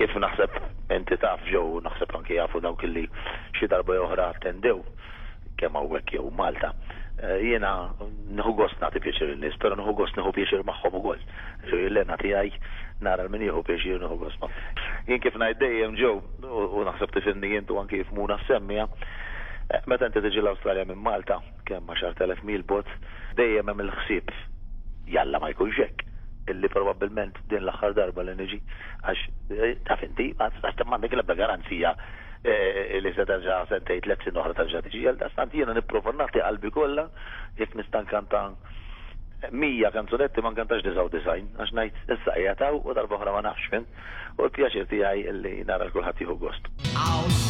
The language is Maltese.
Kif naħseb inti taf Joe u naħseb anki jafu dawk li xi darba jew oħra attendew kemm hawnhekk jew Malta, jiena nieħu gost nagħti pjaċir lin-nies, però nieħu gost nieħu pjaċir magħhom ukoll. Ġifieri l-hena tiegħi nara 'l min jieħu pjaċir u nieħu gost ma'. Jien kif ngħid dejjem Joe, u naħseb tifhimni int u anki jifhmuna s-semmiegħa, meta inti tiġi l-Awstralja minn Malta, kemm 10,000 mil bogħod, dejjem hemm il-ħsieb, jalla ma jkunx hekk, illi probabbilment din l-aħħar darba li niġi, għax taf inti, m'għandek l-ebda garanzija li se terġa' sentejn, tlett snin oħra terġa' tiġi. Għaldaqstant jiena nipprova nagħti qalbi kollha, jekk nista' nkanta 100 kanzunetti ma nkantax 99, għax ngħid issa qiegħed hawn u darba oħra ma nafx, fhimt? U l-pjaċir tiegħi li nara 'l kulħadd jieħu gost.